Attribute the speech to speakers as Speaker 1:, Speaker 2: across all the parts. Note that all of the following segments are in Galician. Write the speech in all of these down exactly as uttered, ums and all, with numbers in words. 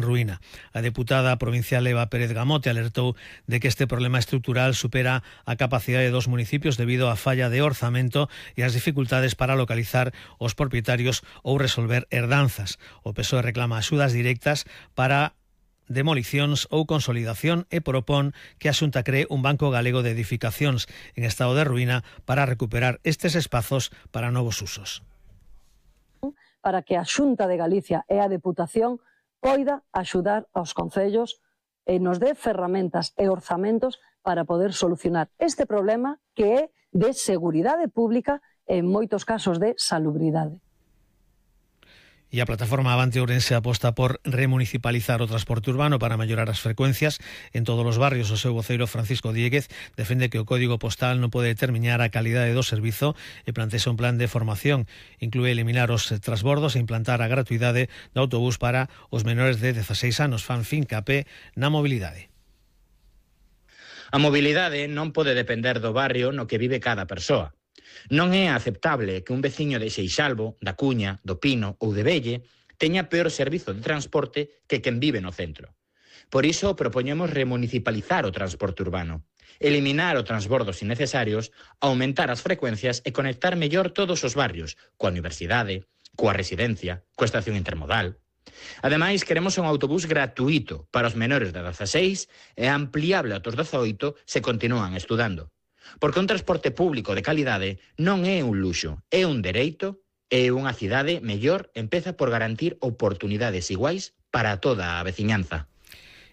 Speaker 1: ruína. A deputada provincial Eva Pérez Gamote alertou de que este problema estrutural supera a capacidade dos municipios debido á falla de orzamento e as dificultades para localizar os propietarios ou resolver herdanzas. O P S O E reclama axudas directas para demolicións ou consolidación e propón que a Xunta cree un banco galego de edificacións en estado de ruína para recuperar estes espazos para novos usos.
Speaker 2: Para que a Xunta de Galicia e a Deputación poida axudar aos concellos e nos dé ferramentas e orzamentos para poder solucionar este problema que é de seguridade pública e en moitos casos de salubridade.
Speaker 1: E a plataforma Avante Ourense aposta por remunicipalizar o transporte urbano para mellorar as frecuencias en todos os barrios. O seu voceiro Francisco Dieguez defende que o código postal non pode determinar a calidade do servizo e plantexa un plan de formación. Inclúe eliminar os transbordos e implantar a gratuidade do autobús para os menores de dezaseis anos. Fan fincapé na mobilidade.
Speaker 3: A mobilidade non pode depender do barrio no que vive cada persoa. Non é aceptable que un veciño de Seixalbo, da Cuña, do Pino ou de Velle teña peor servizo de transporte que quen vive no centro. Por iso propoñemos remunicipalizar o transporte urbano, eliminar os transbordos innecesarios, aumentar as frecuencias e conectar mellor todos os barrios, coa universidade, coa residencia, coa estación intermodal. Ademais, queremos un autobús gratuito para os menores de dezaseis e ampliable a os dezaoito se continúan estudando. Porque un transporte público de calidade non é un luxo, é un dereito e unha cidade mellor empeza por garantir oportunidades iguais para toda a veciñanza.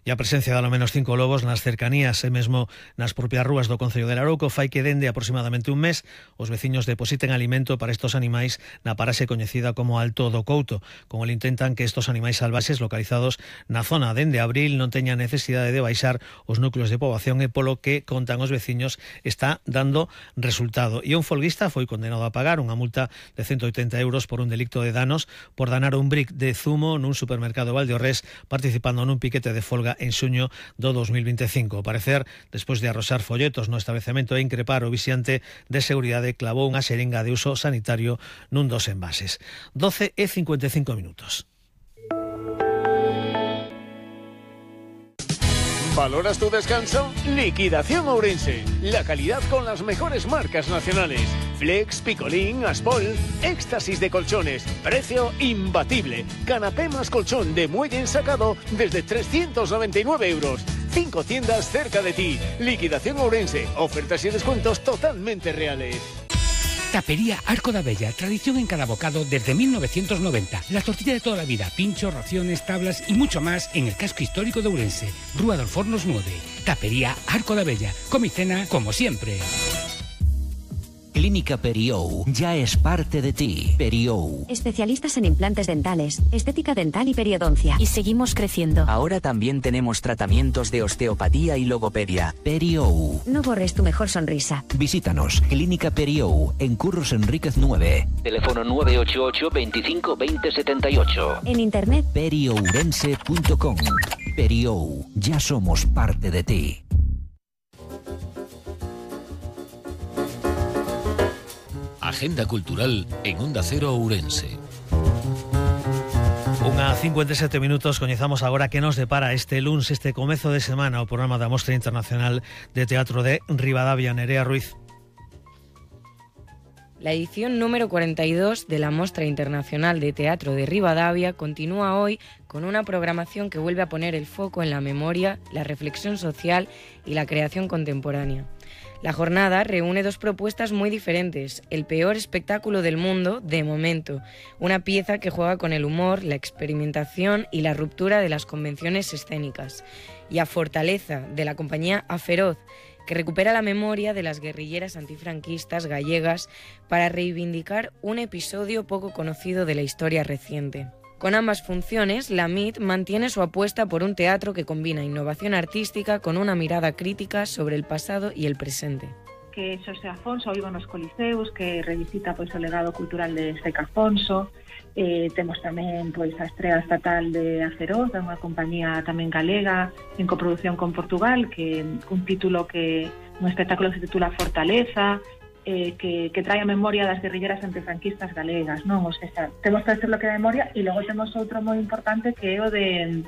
Speaker 1: E a presencia de ao menos cinco lobos nas cercanías e mesmo nas propias rúas do concello de Larouco fai que dende aproximadamente un mes os veciños depositen alimento para estos animais na paraxe coñecida como Alto do Couto. Como le intentan que estos animais salvaxes localizados na zona dende abril non teñan necesidade de baixar os núcleos de poboación e polo que contan os veciños está dando resultado. E un folguista foi condenado a pagar unha multa de ciento oitenta euros por un delicto de danos por danar un brick de zumo nun supermercado Valdeorrés participando nun piquete de folga en xuño do dos mil veinticinco. Ao parecer, despois de arroxar folletos no establecemento e increpar o vixiante de seguridade, clavou unha xeringa de uso sanitario nun dos envases. doce e cincuenta e cinco minutos.
Speaker 4: ¿Valoras tu descanso? Liquidación Ourense. La calidad con las mejores marcas nacionales. Flex, Picolín, Aspol. Éxtasis de colchones. Precio imbatible. Canapé más colchón de muelle ensacado desde trescientos noventa y nueve euros. Cinco tiendas cerca de ti. Liquidación Ourense. Ofertas y descuentos totalmente reales.
Speaker 5: Tapería Arco da Bella, tradición en cada bocado desde mil novecientos noventa. La tortilla de toda la vida, pinchos, raciones, tablas y mucho más en el casco histórico de Ourense. Rúa dos Fornos nueve. Tapería Arco da Bella. Come y cena como siempre.
Speaker 6: Clínica Periou ya es parte de ti. Periou.
Speaker 7: Especialistas en implantes dentales, estética dental y periodoncia. Y seguimos creciendo.
Speaker 6: Ahora también tenemos tratamientos de osteopatía y logopedia. Periou.
Speaker 7: No borres tu mejor sonrisa.
Speaker 6: Visítanos. Clínica Periou en Curros Enríquez nueve. Teléfono nueve ocho ocho, veinticinco, veinte, setenta y ocho.
Speaker 7: En internet
Speaker 6: periourense punto com. Periou. Ya somos parte de ti.
Speaker 8: Agenda cultural en Onda Cero Ourense.
Speaker 1: Unha cincuenta e sete minutos, coñezamos agora que nos depara este luns, este comezo de semana, o programa da Mostra Internacional de Teatro de Ribadavia. Nerea Ruiz.
Speaker 9: La edición número cuarenta y dos de la Mostra Internacional de Teatro de Ribadavia continúa hoy con una programación que vuelve a poner el foco en la memoria, la reflexión social y la creación contemporánea. La jornada reúne dos propuestas muy diferentes: el peor espectáculo del mundo, de momento, una pieza que juega con el humor, la experimentación y la ruptura de las convenciones escénicas, y a Fortaleza, de la compañía A Feroz, que recupera la memoria de las guerrilleras antifranquistas gallegas para reivindicar un episodio poco conocido de la historia reciente. Con ambas funciones, la M I T mantiene su apuesta por un teatro que combina innovación artística con una mirada crítica sobre el pasado y el presente.
Speaker 10: Que Xosé Afonso viva nos Coliseus, que revisita pois o legado cultural de Seca Afonso. Eh, temos tamén pois a estrela estatal de A Feroz, de unha compañía tamén galega en coproducción con Portugal, que un título que un espectáculo que se titula Fortaleza, eh, que, que trae a memoria das guerrilleras antifranquistas galegas, non? O sea, temos que hacer lo que da memoria, e logo temos outro moi importante que é o de